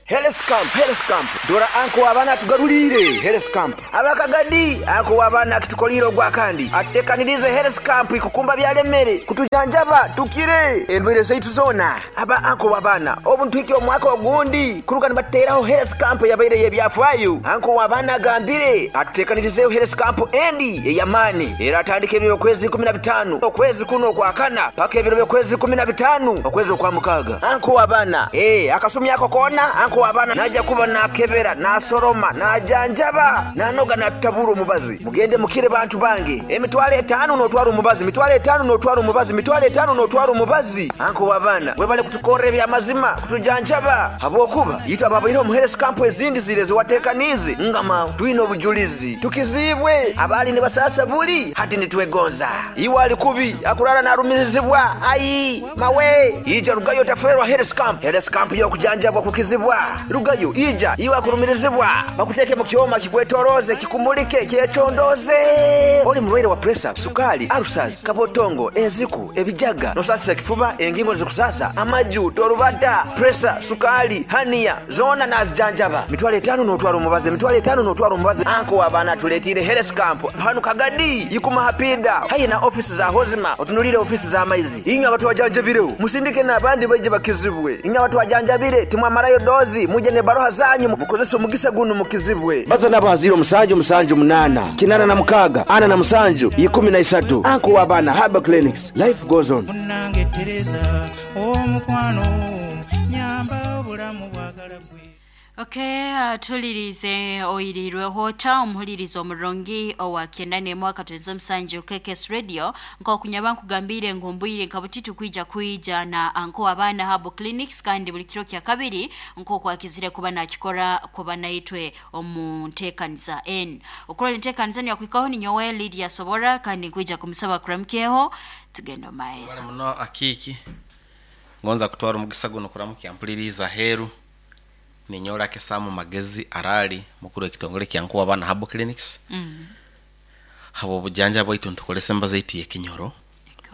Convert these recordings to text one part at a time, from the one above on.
Health Camp, Health Camp, dora anko w'abaana atugaruliire Health Camp. Abakagadi, anko w'abaana akitukoliire ogwakandi atutekaniriize Health Camp ikukumba byalemere kutujanjaba tukire endwaire zaitu zoona. Aba anko w'abaana obu nituhikya omwaka ogundi kuruga nibatuteraho Health Camp eyabaire ey'ebyafaayo. Anko w'abaana agambire atutekanirizeeho Health Camp endi ey'amaani eratandika ebiro by'okwezi 15 okwezi kunu okwakana paka ebiro by'okwezi 15 okwezi okwamukaaga. Anko w'abaana, ee, akasumi ako koona anko w'abaana naija kuba naakebera, naasoroma, naajanjaba, naanoga naatutabura omubazi. Mugende mukire bantu bange. 50,000 n'otwara omubazi, 50,000 n'otwara omubazi, 50,000 n'otwara omubazi. Anko w'abaana, webale kutukorra eby'amazima, kutujanjaba, habwokuba itwe ababaireho omu health camp ezindi ziri eziwateekaniize, ngama twine obujulizi, tukiziibwe. Abaali nibasaasa buli, hati nitwegonza. Iwe ali kubi, akurara naarumirizibwa, ai mawe! Ija rugayo otafeerwa health camp. Health camp y'okujanjabwa kukizibwa. Rugayo, ija, iwe akurumirizibwa, bakuteeke mu kyoma kikwetorooze, kikumulike, kyecondooze. Oli murwaire wa puresa, sukaali, ulcers, kabotongo, enziku, ebijaga, nosaasisa ekifuba, engingo nizikusaasa, amaju, torubata, puresa, sukaali, haniya, zoona naazijanjaba. 50,000 n'otwara omubazi, 50,000 n'otwara omubazi. Anko w'abaana atuleetiire health camp hanu Kagadi, Ikuma Hapiida, haihi na ofiisi za Hozima, otunuliire ofiisi z'amaizi. Inywe abatwajanjabireho, musindike n'abandi baije bakizibwe. Inywe abatwajanjabire, timwamarayo doozi, mwije n'ebaroha zanyu mukozese omugisa gunu mukizibwe. Baza nabo ha 0 7 7 8 86 47 13. Anko w'abaana Herbal Clinics. Life goes on. Munnange Tereza omukwano nyamba obulamu bwagala gwe. Okay, tulirize oyirirweho ota omuhuliriza omurungi owa 91.7 KKS Radio nkokunyaba nkugambire ngu mbwire nka butitu kwija kwija na anko abaana Herbal Clinics kandi buli kiro kya kabiri nkokwakizire kuba nakikora kuba naitwe omu nteekaniza n okurora enteekaniza niyakuhikaho ni nyowe Lydia Sobora kandi nkwija kumusaba kuramukyeho tugenda omu maiso. Bali muno akiiki ngonza kutwara omugisa guno kuramukya mpuliriza aheeru. Ninyowe Kesamu Magezi Arali mukuru w'ekitongole kya Nkuwa Abaana Herbal Clinics. Habw'obujanja bwaitu nitukolesa embazo yaitu y'ekinyoro.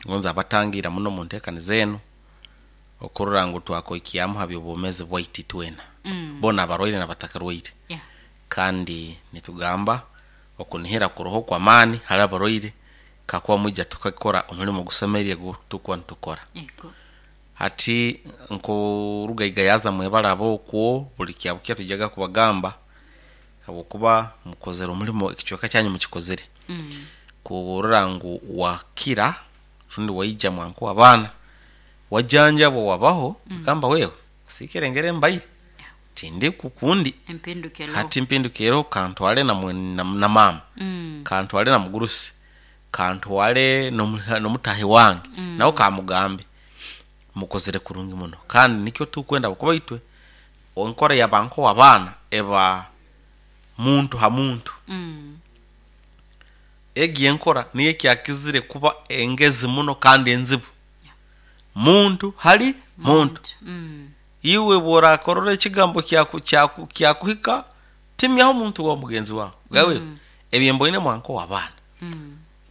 Ngonza abatangira muno mu nteekaniza enu okurora ngu twakoikyamu ha by'obwomeezi bwaitu itwena. Boona abarwaire n'abatakarwaire. Kandi nitugamba okunihira kuroho kw'amaani hali abarwaire kakuba mwija tukakora omulimo ogusemeriire ogu tukuba nitukora. Hati nk'orugaiga yaza mwebaraba okwo buli kyabukya tujaga kubagamba habwokuba mukozere omulimo ekicweka kyanyu mukikozere. Kurora ngu wakira rundi waija mwankuwa abaana wajanjabwa wabaho gamba wewe kusiikire ngeri mbaire tindi kukundi hati mpindukiro kantwale na, na, na mama kantwale na mugurusi kantwale n'omutahi wange nawe kamugambe mukozere kurungi muno kandi nikyo tukwenda kuba itwe enkora yabanko abaana eba muntu ha muntu. Egi enkora niyo ekyakizire kuba engezi muno kandi enzibu. Muntu hali muntu. Iwe bw'orakorora ekigambo kyakuhika timyaho omuntu wa mugenzi wawe gawe ebyemboine mwanko abaana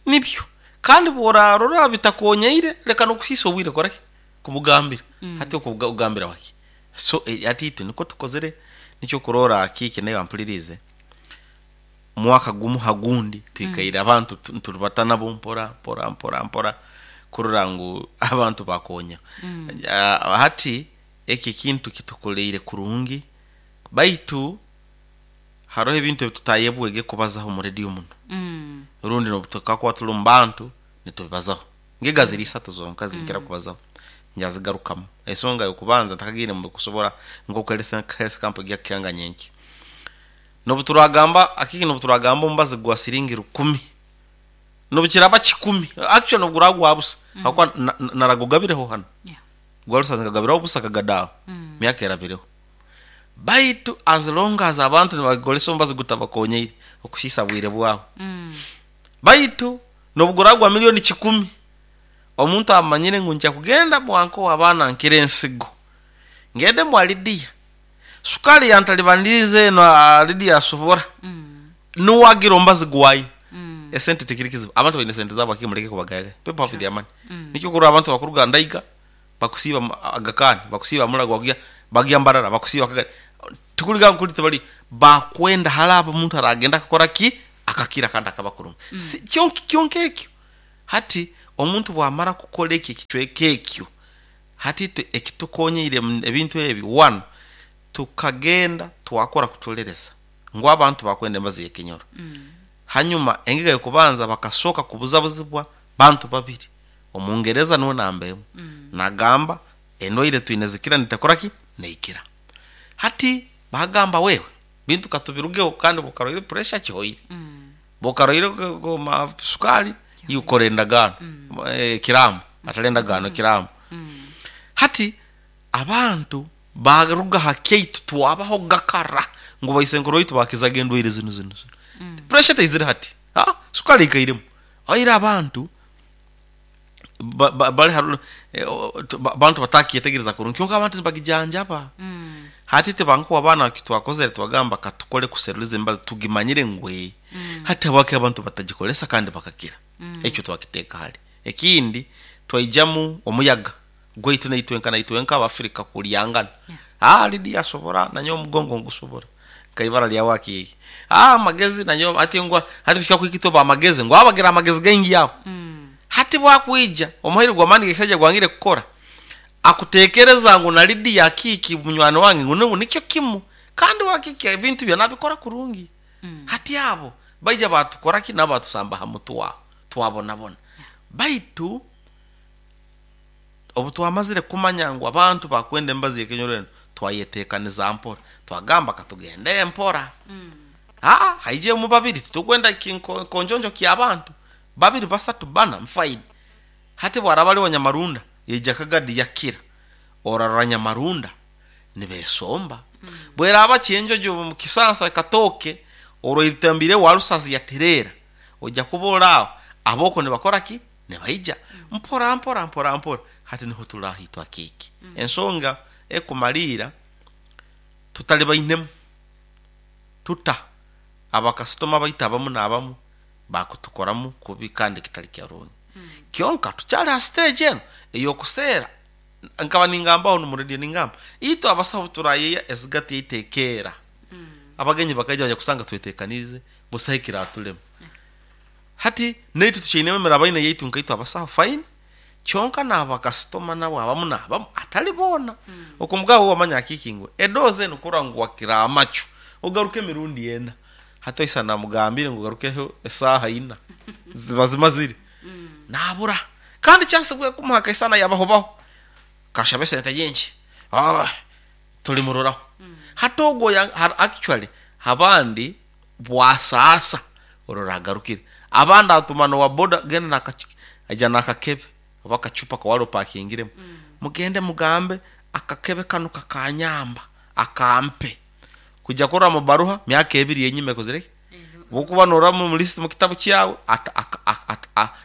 nibyo kandi bw'orarora bitakonyeire leka n'okusiisa obwire koraki kumugambira hati okugambira waki so ati itwe niko tukozere nikyo kurora akiiki nayo ampulirize mwaka gumu hagundi twikaire abantu nturubata nabo mpora mpora mpora mpora kurora ngu abantu bakonya. Hati eki kintu kitukoleire kurungi baitu haroho ebintu ebitutayebwege kubazaho mu radio muno. Rundi n'obutukakuba tuli mu bantu nitubibazaho ngega ziri isatu zonka zinkira kubazaho njazigarukamu ensonga y'okubanza ntakagiire mu kusobora nk'oku health camp ejya kukihanga nyenki n'obuturagamba akiki n'obuturagamba omubazi gwa siringi 10 n'obukiraba 10 actually n'obuguragwa busa hakuba naragugabireho hano. Gwarusanze kagabiraho busa kagadaaho myaka erabireho baitu as long as abantu nibagikolesa omubazi gutabakonyeire okusiisa bwire bwabo. Baitu n'obuguragwa 1,000,000 omuntu amanyire ngu nja kugenda mwanko abaana nkira ensigo ngende mwa Lydia sukali yantalibanize eno Lydia asobora nuwagira omubazi gwayo esente tikiri kizibu abantu baine sente zabo akimuleke kubagayaga people have their money. Nikyo kurora abantu bakuruga ndaiga bakusiiba agakani bakusiiba mulago wakuya Bagya Mbarara bakusiiba Kagadi, tikuliga nkuli tibali bakwenda halaba omuntu aragenda akakora ki akakira kandi akaba kurungi. Si kyonka ekyo hati omuntu bwamara kukora eki ekicweka ekyo hati ekitukonyeire ebintu ebi, one, tukagenda twakora kutolereza ngu abantu bakwenda embazi y'ekinyoro. Hanyuma engega y'okubanza bakasooka kubuzabuzibwa bantu babiri, omungereza nuwe namba emu, nagamba endwaire twine zikira nitakora ki neikira. Hati bagamba wewe bintu katubirugeho, kandi bukaroire pressure kihoire, bukaroire sukari yukora endagaano, kiramu atali endagaano, kiramu. Hati abantu baruga ha kyaitu twabaho gakara ngu baisenkuru baitu bakizaga endwaire zinu zinu zinu. Pressure teizire hati, sukari ikairemu oire abantu bali abantu batakyetegereza kurungi, kyonka abantu nibagijanjaba. Hati tibankuwa abaana kitwakozere twagamba katukole kuseruliza embazi tugimanyire ngwe. Hati habwaki abantu batagikolesa kandi bakakira? Ekyo twakiteeka hali. Ekindi twaijamu omuyaga gwaitu naitwenka naitwenka Abafrika kulyangana. Lidi yasobora nanyo omugongo ngusobora nkaibara lya wakiki amagezi nanyo ati ngwa hati bishika kwikito ba magezi ngwa abagira amagezi gaingi yabo. Hati bwakwija omuhaire gw'amaani gekisajja gwangire kukora, akutekereza ngu na Lidi ya kiki munywani wange ngu nubu nikyo kimu, kandi wakiki ebintu byona abikora kurungi. Hati abo baija batukora ki nabo batusamba ha mutwe twabonabona. Baitu obu twamazire kumanya ngu abantu bakwenda embazi y'ekinyoro eno, twayetekaniza mpora, twagamba katugende mpora. Haije mu babiri titukwenda konjonjo ky'abantu babiri basatu bana mfaini. Hati bwaraba ali wa Nyamarunda yaija Kagadi yakira, orarora Nyamarunda nibesomba. Bweraba kyenjojo mu kisansa katoke oroitambire warusazi yaterera, ojja kuba aho aboko nibakora ki nibaija mpora mpora mpora mpora. Hati niho turahitwa kiki ensonga ekumalira tutali bainemu tuta abakasitoma baita abamu n'abamu bakutukoramu kubi kandi kitali kyarungi. Kyonka tukyali ha stage eno ey'okuseera, nkaba ningambaho mu radio ningamba itwe abasaho turayeya ezigati yaitu ekeera. Abagenyi bakaija baja kusanga twetekanize busaho ekiratulema. Hati naitwe tukyainemu emirabaine yaitu nkaitwe abasaho fine, kyonka n'abakasitoma nabo abamu n'abamu atali boona. Okumugabo wamanya akiki ngu edoze eno kurora ngu wakira amacu ogaruke emirundi ena. Hati oisa namugambire ngu ogarukeho esaaha ina ziba zimazire nabura, kandi chance bwe kumuha kaisana yabahobaho kashabe sente nyingi tulimuroraho. Hati ogwo actually abandi bwasaasa orora agarukire, abandi atuma nowa boda genda aija n'akakebe oba akacupa kawali opakingiremu, mugende mugambe akakebe kanu kakanyamba akampe kujya kurora mu baruha myaka ebiri yenyuma ekozire ki bwokuba norora mu list mu kitabu kyawe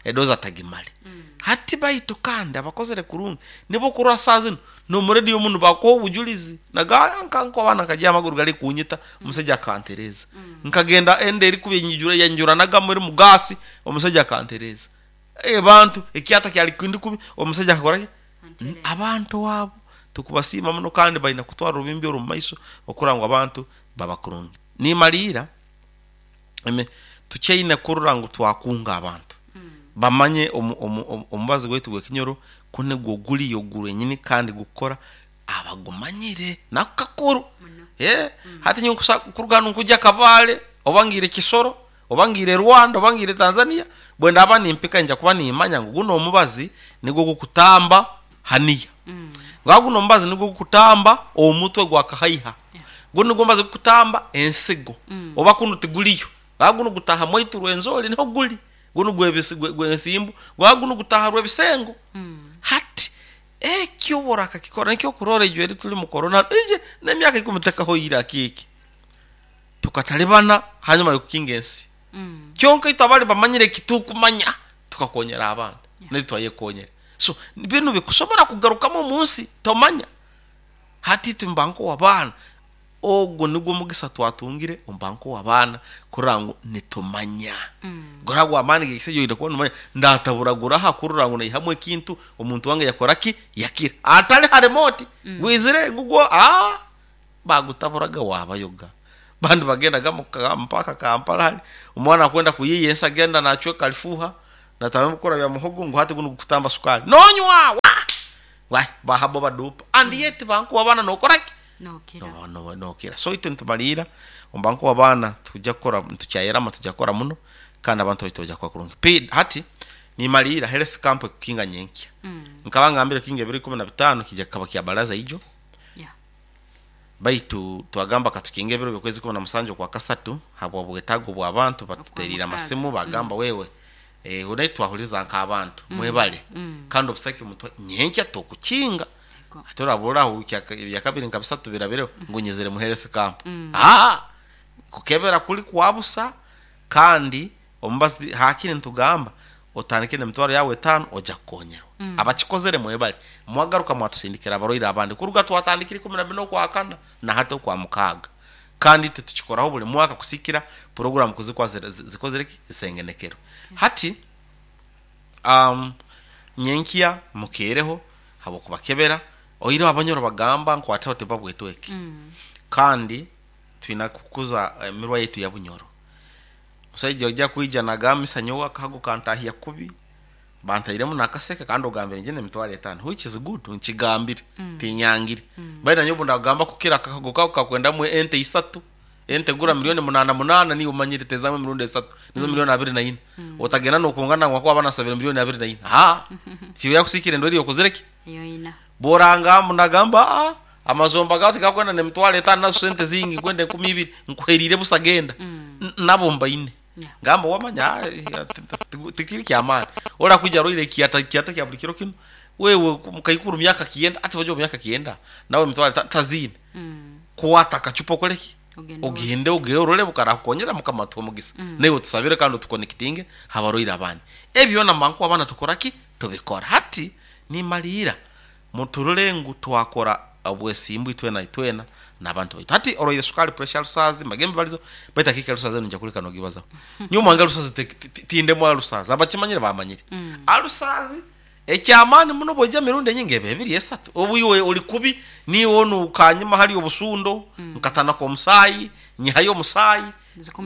edoza atagimale. Hati baitu kandi abakozere kurungi nibo kurora saa zino n'omuredio muno bakuha obujulizi nagaya nkanko abana nkajya amaguru gali kunyita omusajja akantereza, nkagenda ende eri kubi enyijura yanjuranaga muri mugasi omusajja akantereza, abantu ekyata kyali kindi kubi omusajja akakora ki? Abantu abo tukubasiima muno kandi balina kutwara orubimbi oru mumaiso okura ngu abantu baba kurungi. Nimalira tukyaine kurora ngu twakunga abantu bamanye omubazi gwaitu gw'ekinyoro kunigwo guliyo gwenyini kandi gukora abagumanyire nakakuru. Hati nyowe kuruga hanu nkujya Kabale oba ngire Kisoro oba ngire Rwanda oba ngire Tanzania, bwe ndaba nimpika nja kuba nimanya ngu guno omubazi nigwo gukutamba haniya, gwa guno omubazi nigwo gukutamba omutwe gwa kahaiha, guno nigwo mubazi gukutamba ensigo, oba kuno tiguliyo, gwa guno gutaha mwaitu Rwenzori niho guli, guno gwensimbu, gwa guno gutaha Rwebisengo. Hati ekyo borakakikora nikyo kurora ejo eri tuli mu corona ije n'emyaka ikumi tekahoire akiki tukatalibana hanyuma yokukinga ensi. Kyonka itwe abali bamanyire kitukumanya tukakonyera abantu nari twayekonyera. So binu bikusobora kugarukamu omunsi tomanya. Hati tumbanko abaana Ogwo nigwo mugisa twatungire ombanko w'abaana kurora ngu nitumanya gora gw'amaani g'ekisajja oine kuba nomanya ndataburagura aha kurora ngu naihamu ekintu omuntu wange yakora ki yakira atali ha remote gwizire ngugwo bagutaburaga wabayoga bandi bagendaga mpaka Kampala hali omwana akwenda kuyiya ensi agenda nacweka alifuha natamukora bya muhogo ngu hati guno gukutamba sukari nonywa wa wa bahabo badupa and yet bankuwa abana nokoraki nokira no no nokira. So itwe nitumalira ombanku abaana tujja kukora tukyayerama tujja kukora muno kandi abantu baitu bajja kuba kurungi. Pi hati nimalira health camp ekukinga nyenkya. Nkaba ngambire kinga ebiro 15 kijja kukaba kya baraza ijo. Yeah. Baitu twagamba katukinga ebiro byokwezi 17 kwa kasatu habwa bwetago bw'abantu batuterira amasimu bagamba wewe unaye twahuliza nk'abantu mwebale kandi obusaki mutwa nyenkya tokukinga Yego. ate oraburaho bya kabiri nka bisatu birabireho ngo nyizire mu health camp kukebera kuli kwabusa kandi omubazi hakini ntugamba otandike nemitwaro yawe 5 ojja kukonyerwa. Abakikozere mwebale mwagaruka mwatusindikira abarwaire abandi kuruga twatandikire 14 kwa kana na hata kwa mukaga kandi tutukikoraho buli mwaka kusikira program kuzikwa zikozere isengenekero. Hati nyenkia mukereho habo kubakebera oiro abanyoro bagamba nkwataho tebabwetweke. Kandi twina kukuza emirwa yetu ya bunyoro. Musajja ojja kuija nagamisa nyowa kago kantahia kubi bantairemu nakaseke kandi ogambire njye emitwaro 5 which is good nkigambire tinyangire. Baina nyobo ndagamba kukira akago kako kakwendamu ente isatu ente gura milioni 8 8 niyo umanyire tezamu mirundi 3 nizo milioni 24. Otagenda nokungana ngwa abana sabira milioni 24 tiyo yakusikire ndori yokuzireke yoina boranga munagamba amazomba gawe tigakwenda nemitwaro 5 nazo sente zingi kwenda 12 nkuherire busagenda. Nabo mbaine. Yeah. Ngamba wamanya tikiri kyamani ora kuja roile kiata kiata kya buli kiro kino wewe mukaikuru myaka kienda ati bajo myaka kienda nawe mitwaro tazini kuwata kachupo koleki ogende ogeorole bukara kukonyera mukama mugisa. Newe tusabire kandi tukonekitinge habaroira abandi ebyo na manku abana tukoraki tubikora. Hati nimalira muturule ngu twakora obwesimbu itwena itwena n'abantu baitu. Hati oroire sukali pressure rusazi magembe balizo baita kika rusazi nja kuleka nogibaza nyuma anga rusazi tinde mwa rusazi abakimanyire bamanyire. Arusazi ekyamani muno bojja mirundi nyingi ebiri esatu obu iwe oli kubi niwo nukanyuma hali obusundo nkatana ko musayi nyihayo musayi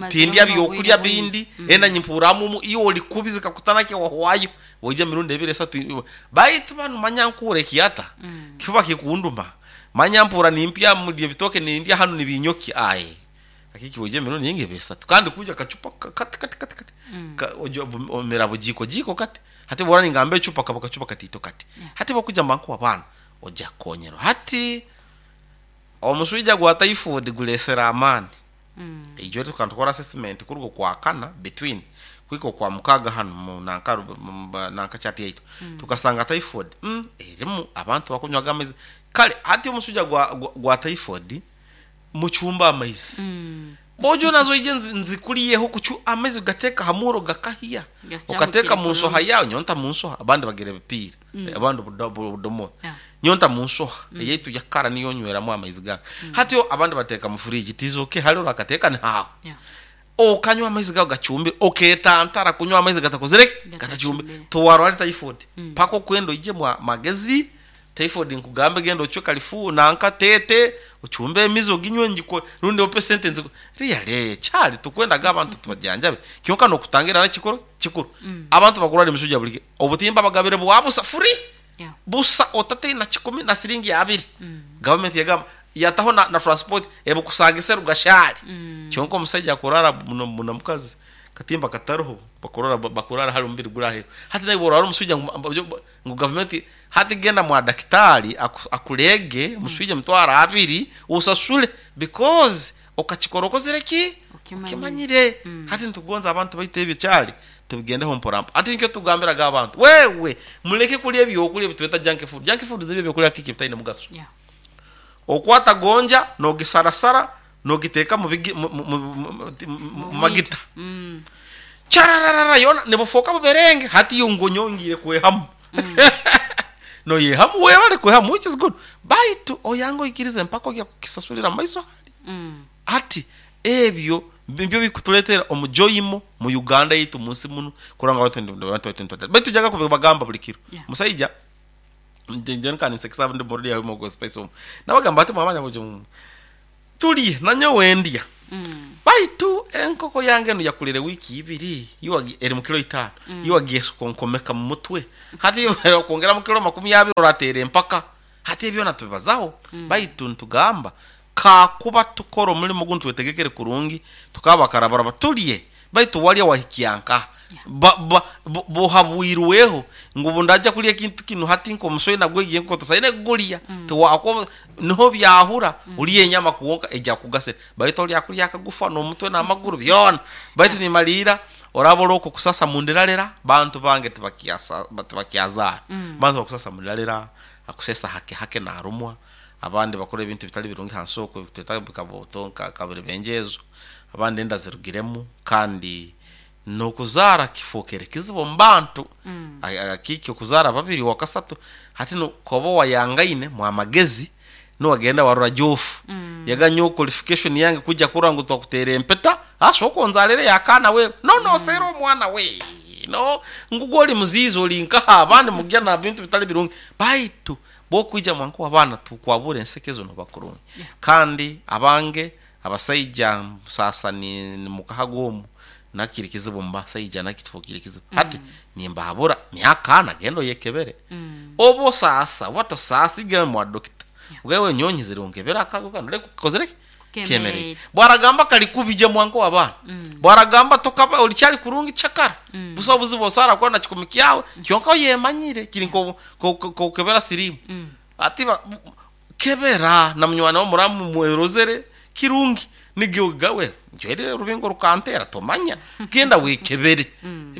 tindya byokulya bindi enda nyimpuramu iwo oli kubi zikakutana ke wahwayo bojja mirundi ebiri esatu baitu banu manya nkure kiata kifuba kikunduma manya mpura nimpya mulye bitoke nindya hano nibinyoki aye akiki bojja mirundi nyingi ebesatu kandi kuja kachupa kati kati kati kati ojo omera bujiko jiko kati hati bora ningambe chupa kaba kachupa katito kati. Hati bakuja manku abana oja konyero hati omuswija gwa typhoid gulesera amani. Ijo tukantukora assessment kurugo kwa kana between kwiko kwa mukaga hano mu nanka nanka chat yaitu. Tukasanga typhoid erimu abantu bakunywa amaizi kale hati omuswija gwa typhoid muchumba amaizi. Bojo nazo ije nzikuliyeho kuchu amaizi gateka hamuro gakahia ukateka mu nsoha yawe nyonta mu nsoha abandi bagere bipira abandi budomo nyonta mu nsoha yetu yakara niyo nyweramo amaizi ga hati yo abandi bateka mu fridge tizoke hali urakateka ni hawo okanywa amaizi gawe gachumbe oketantara kunywa amaizi gatakozereke gatachumbe towarwale typhoid pako kwendo ije mwa magezi typhoid nkugambe genda ocho kalifu nanka tete uchumbe emizo ginywe njiko rundi ope sentence really chali tukwenda gabantu tubajanjabe kyonka no kutangira na chikoro chikuru. Abantu bakurali misuja bulike obutimba bagabire bwabusa free. Busa otate na 10 na siringi 2. Government yagamba yataho na transport ebukusangise rugashali. Kyonka omusajja akorara muno mukazi katimba kataruho bakurara hali umubiri gurahero hati nawe borara omusujja ngu government hati genda mwa daktari akulege omusujja mutwara 2 usasule because okachikorokozere ki okimanyire. Hati ntugonza abantu baitu ebyo kyali tubigendeho mporampo. Ati nikyo tugambiraga abantu wewe muleke kulya ebyokulya bitweta junk food. Junk food zibyo byokulya kiki bitaine mugaso. Okwata gonja nogisarasara nogiteka mu magita. Chararara yona nebufoka buberenge hati yongonyongire kwehamu. No yehamu webale kwehamu which is good. Baitu oyango ikirize mpaka kya kukisasulira maiso hali. Ati ebyo nibyo bikutuletera omujoyimo mu Uganda yitu munsi muno kuranga abantu baitu jaga kubagamba buli kiro. Musaija nje nkaninsekesa ndi borodi yawe mo gospel so nabagamba ati mwamanya mujo tuli nanyo wendya. Baitu enkoko yange no yakulire wiki ibiri iwa eri mu kilo 5 iwa gesu konkomeka mu mutwe hati kongera mu kilo 20 oratere mpaka hati ebyo natubibazaho. Baitu ntugamba kakuba tukora omulimo guntu twetegekere kurungi tukaba karabaraba tulye baitu walya wahikianka bohabwirweho ngu ndaja kulya kintu kino hati nko muswe nagwegiye nko tusaine gulya tuwako niho byahura uliye nyama kuwonka eja kugasira baitu olya kulya akagufa no mutwe na maguru byona baitu nimalira orabolo ko kusasa mundiralera bantu bange tubakiasa tubakiazara. Bantu bakusasa mundiralera akusesa hake hake na arumwa abandi bakora ebintu bitali birungi hansoko tweta kaboto kabere benjezo abandi enda zirugiremu kandi nokuzara kifokere kizibu mbantu. Akiki okuzara babiri wakasatu hati no kobo wayangaine mwa magezi no wagenda warura jofu. Yaganyo qualification yange kuja kurangu twakutere empeta asoko nzalere yakana we no sero omwana we no ngugoli muzizo linkaha abandi mugya na bintu bitali birungi baitu bokuija mwanko abana tukwabure ensekezo no bakurungi. Kandi abange abasaija sasa ni mukahagomu nakiri kizibu mbasaija nakitfokiri kizibu. Hati nimbahabura myaka nagendo yekebere. Obo sasa wato sasa igame mwa dokita wewe nyonyi zirongebera akago kanure kozere kemere bwaragamba kali kubije mwanko abana. Bwaragamba tokaba olichali kurungi chakara. Busa buzibo sara kwa na chikumiki yawe kyonka yemanyire kiri ko kebera sirimu. Ati kebera na munywana wo muramu mwerozere kirungi nigyogawe njere rubingo rukantera tomanya genda wekebere.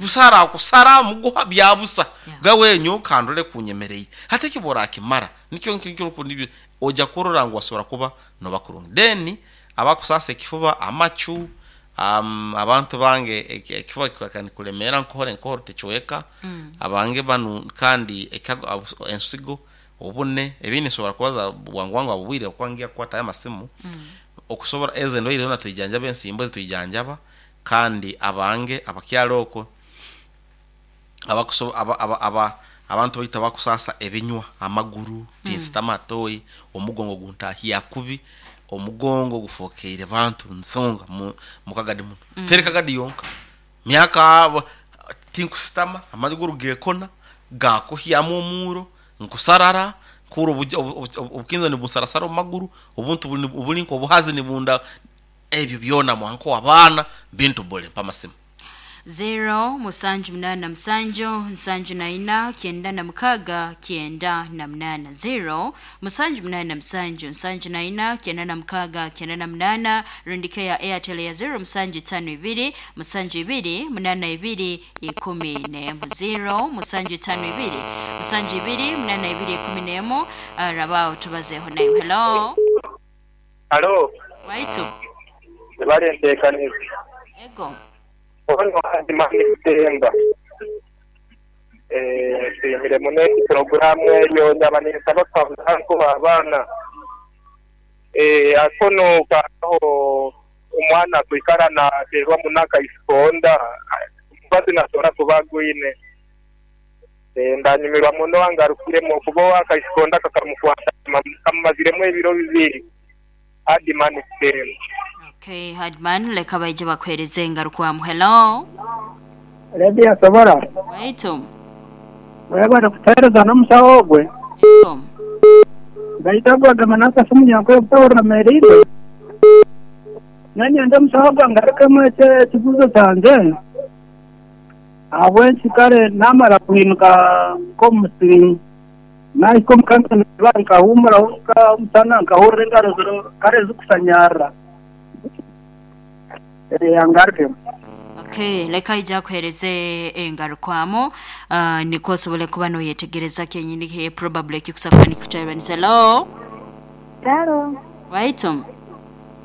Busara kusara muguha byabusa gawe nyo kandole kunyemereye hate kibora kimara nikyo nkikyo kundi oja kurora ngo wasora kuba no bakurungi deni abakusasa ekifuba amachu abantu bange ekifuba kikulemera nkohore nkohore techoeka. Abange banu kandi ensigo obune ebini sobora kubaza bwangu wangu abubwire okwangia kwata amasimu. Okusobora eze ndo ile tuijanjaba ensimbo tuijanjaba kandi abange abakyaloko abakuso aba abantu baita bakusasa ebinywa amaguru tinsitamatoyi omugongo guntahia kubi omugongo gufokeire bantu nsonga mukagadi muno. Tereka gadi yonka myaka tinkusitama amaguru gekona gakuhyamu omuro nkusarara kuro obukinzo ni busarasara omaguru obuntu obulinko obuhazi ni bunda ebyo byona mwanko abana bintu bole pamasimu 0 musanju 8 musanju 74 96 98 0 musanju 8 musanju 74 96 98 rundike ya Airtel ya 0 musanju 52 musanju 2 82 11 0 musanju 52 musanju 2 82 11. Rabao tubazeho nayo. Hello hello waitu bali ntekaniza ego ono andimani temba tuyimire mune programu eyo ndabanisaba ko abana akono kaho omwana kwikara na terwa munaka isikonda mbazi nasora kubagwine ndanyumirwa muno angarukiremo kubo akaisikonda kakamukwata kamaziremo ebiro bibiri Hadman temba. Okay, Hadman leka baije bakwereze ngarukwa. Hello. Redia sobora. Waitu. Wewe kutereza no musawo gwe. Baitagwa gamanaka simu yakwe kutawura merire. Nani anda musawo gwe ngaruka mwete kibuzo canje. Abwe kare namara kuinuka ko musiri. Naiko mkanka nkahumura uka musana nkahurira engaro kare zikusanyara. Angarke. Okay, leka ija kuhereze engarukwamo niko sobole kuba no yetegereza kenyini he probably kikusakwa nikutayiranisa. Hello. Hello. Waitum.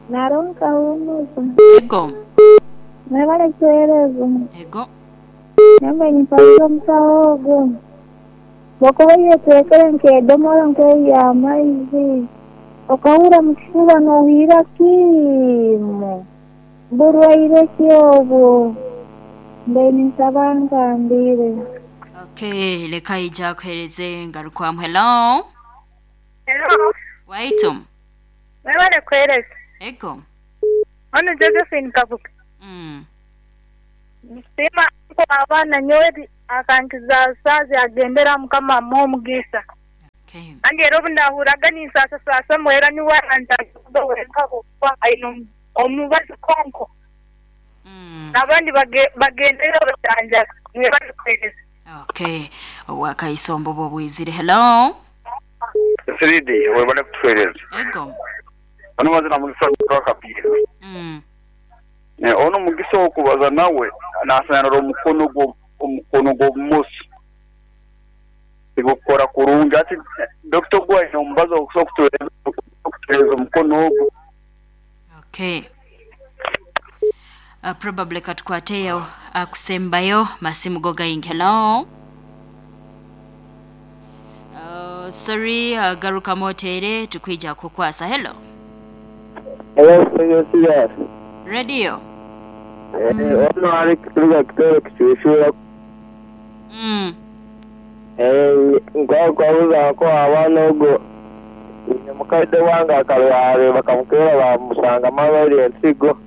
Naronka humuza. Ego. Mwebale kuhereza. Ego. Nembe nipalizo msawogo. Bokuba yetekere nkedomora nkeya amaizi. Okahura mu kifuba n'ohurra kimu. Burwaire ki obwo? Mbe ninsaba ngambire. Okay, leka ija kuhereze ngarukwamu. Hello. Hello. Waitu. Mwebale kuhereza. Ego. Ono Josephine Kabuga. Nsiima ko abaana nyowe akankiza saazi agendera Mukama amuhe omugisa. Okay. Kandi era obu ndahuraga ninsaasasaasamu era niwe arandaga wenka kuba aine omubazi konko. N'abandi bagendera bajanjaba. Mwebale kuhereza. Okay. Owakaisombo bwizire. Hello. Siridi webale kutuhereza. Ego. Ono mazina mugisa gwakapira. Ono mugisa okubaza nawe nasanara omukono gw'obumoso tigukora kurungi ati Dr. Gwaine omubazo okutuhereza omukono ogwo. Okay. Probably katukwateyo akusembayo masimu go gaingi. Hello. Sorry, garuka motere tukwija kukwasa. Hello. Hello, yes. Radio. Ono ari kuturuka kitoro kicushura. Nkwabuza ko abaana ogo mukaide wange akarware bakamukera bamusanga amabere ensigo.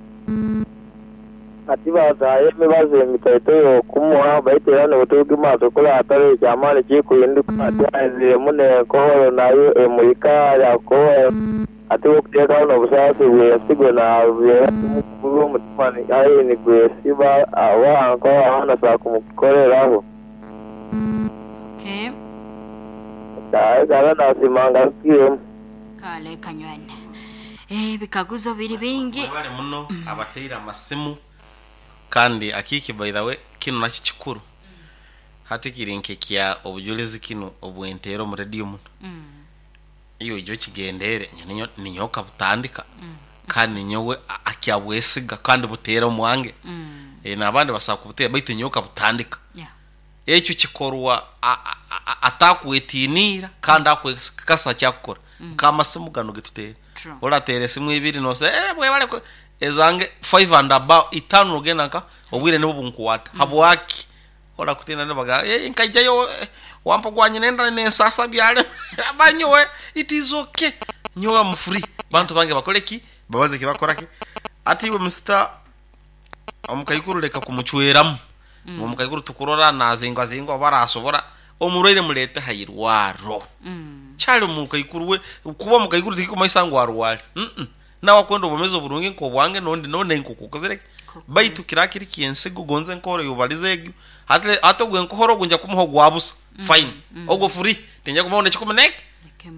Ati bazaye emibazi emitaito y'okumuha baitera n'obuturuka maaso kuri atari ekyamaani kikuhinduka ati aheziremu n'enkohoro nayo emurika yakohoro ati okuteekaho n'obusaasi bw'ensigo nabyera kumukuru omutima aye nigwesiba awanko abaana saa kumukoreraho. Okay. Kale nasimanga kiyemu. Kale kanywana. Bikaguzo biri bingi. Mwebale muno abateire amasimu kandi akiki by the way kino nakyo kikuru. Hati kiri nkekya obujulizi kino obwentero mu radio muno. Iyo ijo kigendere ninyoka butandika. Kandi ninyowe akyabwesiga kandi butera omwange. N'abandi basaba kubutera baitu nyoka butandika. Ekyo kikorwa atakwetiniira kandi akwekasa kyakukora. Nk'amasimu gano getutera. Oratera esimu ibiri nose bwebale ezange 5 and above itano ogenda nka obwire nibo bunkuwata. Habwaki ora kutina nibaga nkaijayo wampa gwanye nenda nensasa byale banyowe it is okay nyowe am free bantu bange bakole ki babaze ki bakora ki ati iwe mr omukaikuru leka kumuchweramu. Omukaikuru tukurora nazingwa zingwa barasobora omurwaire mulete hayirwaro. Chali omukaikuru we kuba omukaikuru tikikumaisa ngu arwale. Nawe akwenda obumezi oburungi nk'obwange nondi none nkukukozereke baitu kirakiri kiensigo gonze nkoro yubalize egyo ate ogwe nkohoro ogunja kumuha ogwabusa fine ogwo free tinja kumuha nekikumuneke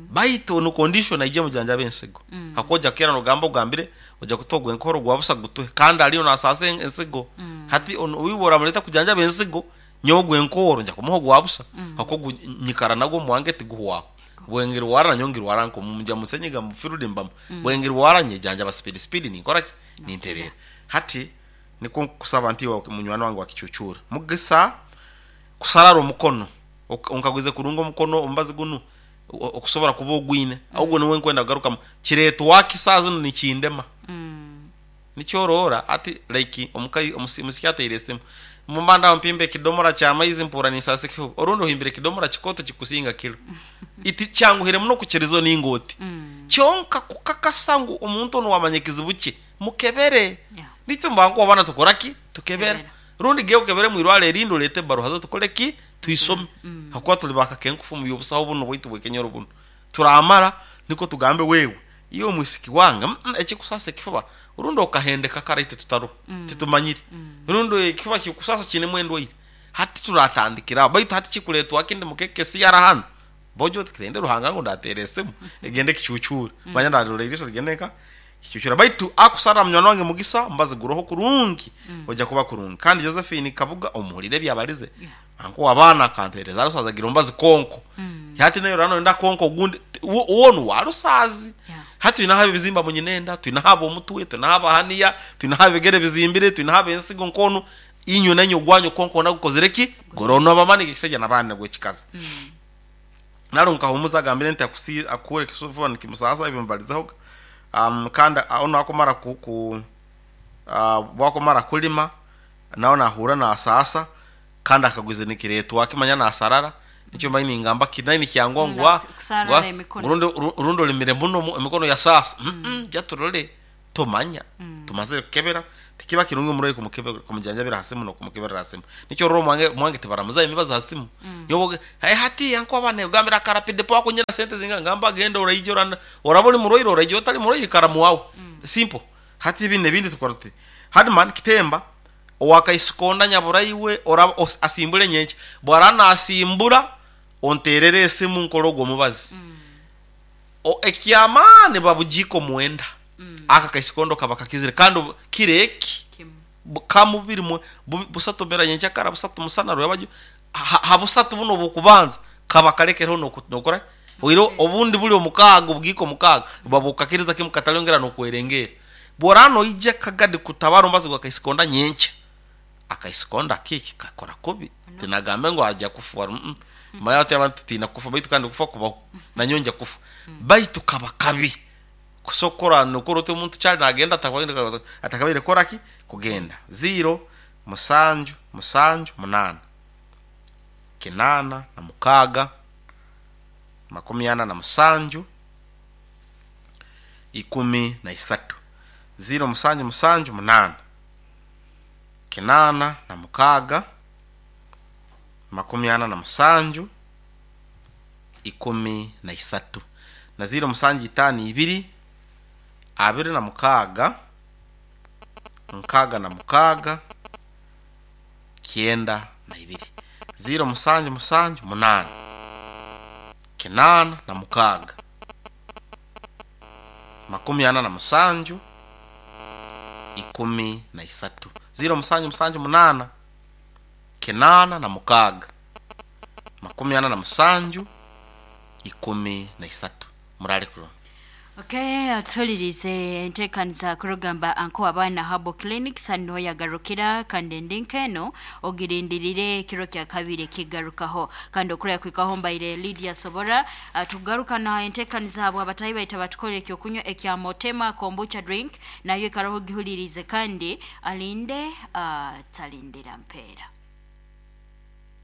baitu no condition aije mujanja bensigo hakoja kera nogamba ogambire oja kutogwa enkoro gwabusa gutuhe kandi aliyo nasase ensigo hati wibora muleta kujanja bensigo nyogwe enkoro nja kumuha gwabusa hako nyikara nago mwange tiguhwa bwengeri wara nyongeri wara nko mumja musenyiga mufirude mbamu bwengeri wara nyejanja ba speed speed ni kora ni nterera hati niko kusaba nti wa munywani wange wakichuchura mugisa kusarara omukono onkagwize kurunga omukono ombazi gunu okusobora kuba ogwine ahubwo niwe nkwenda kugaruka kireetwa wakisaza nikindema nikyorora ati like omukai omusikyateire esimu mumbanda mpimbe kidomora kya maizi mpura nisase kifu orundo himbire kidomora kikoto kikusinga kilo iti cyanguhire muno kukirizo ningoti kyonka kukakasa ngu omuntu ono wamanye kizibu kye mukebere nityo mbangu abana tukora ki tukebere rundi ge ukebere mwirwale erindo lete baruha zo tukole ki tuisome hakuba tuli bakakenkufu mu yobusaho buno bwitu bwekenyoro buno turamara niko tugambe wewe iyo mwisiki wanga ekikusasa kifuba urundo okahendeka karaite tutaro titumanyire urundo ekifuba kikusasa kine mwendo ire hati turatandikira baitu hati kikuletwa kindi mukeke si hano bojo tikende ruhanga ngo ndateresemu egende kichuchura manya ndarora irisho rigendeka kichuchura baitu akusara mnywana wange mugisa mbazi guroho kurungi oja kuba kurungi kandi Josephine Kabuga omuhulire byabalize anko abana kantereza arusaza gira mbazi konko hati nayo rano nda konko gundi uwonu warusazi hati twinahaba ibizimba munyinenda twinahaba omutwe twinahaba haniya twinahaba ebigere bizimbire twinahaba ensigo nkono inyo nanyo gwanyo konko nagukozere ki gorono abamani kisajja nabana gwe kikazi. Nalo nkahumuza agambire nti akusi akure kisufu nikimusasa ebyo mbalizeho. Kandi ono akomara ku, ku bwakomara kulima nawe nahura nasasa kandi akaguze nikiretwa akimanya nasarara nikyo mbaye ningamba kinai kyangwa ngwa kusarara emikono. Urundi urundi olimire muno emikono ya sasa. Jaturole tomanya tumazire kukebera tikiba kirungi omurwayi kumukebera kumujanjabira hasimu nokumukebera hasimu nikyo roro mwange mwange tibaramuza emibazi hasimu. Yoboge hey, hati yanko abana ugambira karapide po akunyira sente zinga ngamba genda oraije orana oraba oli murwaire oraije otali murwaire karamu wawe. Simple. Hati ibi nebindi tukora tuti Hadman Kitemba owakaisikonda nyaburaiwe ora asimbule nyenche bwarana asimbura onterere esimu nkorogo omubazi. O ekyamani babujiko mwenda. Aka kaisikondo kaba kakizire kandi kireki kamubiri busatu mera nyencha kara busatu musana rwabaju ha busatu buno bukubanza kaba kalekereho nokora oiro obundi buli omukago bugiko mukago babukakiriza kimu katalongera nokwerengera borano ije kagadi kutabara ombazi gwa kaisikonda nyencha akaisikonda kiki kakora kubi tinagambe ngo ajya kufa. Maya abantu tina kufa baitu kandi kufa kubaho nanyonja kufa baitu kaba kabi kusokora nukuru te omuntu kyali nagenda atakabire koraki kugenda 0 7 7 8 9 6 47 13 0 7 7 8 9 6 47 13 na 0 7 5 2 26 66 92 0 7 7 8 9 6 47 13 0 7 7 8 9 6 47 13 murale kuno. Okay, atulirize enteekaniza kurugamba anko abaana Herbal Clinic saniho yagarukira kandi endinkeno ogirindirire ekiro kya kabiri kigarukaho kandi okurya kwikaho mbaire Lydia Sobora. Tugaruka na enteekaniza abo abatayi baita batukore ekyokunywa ekya Motema kombucha drink nayo ikaraho gihulirize kandi alinde talindira mpeera.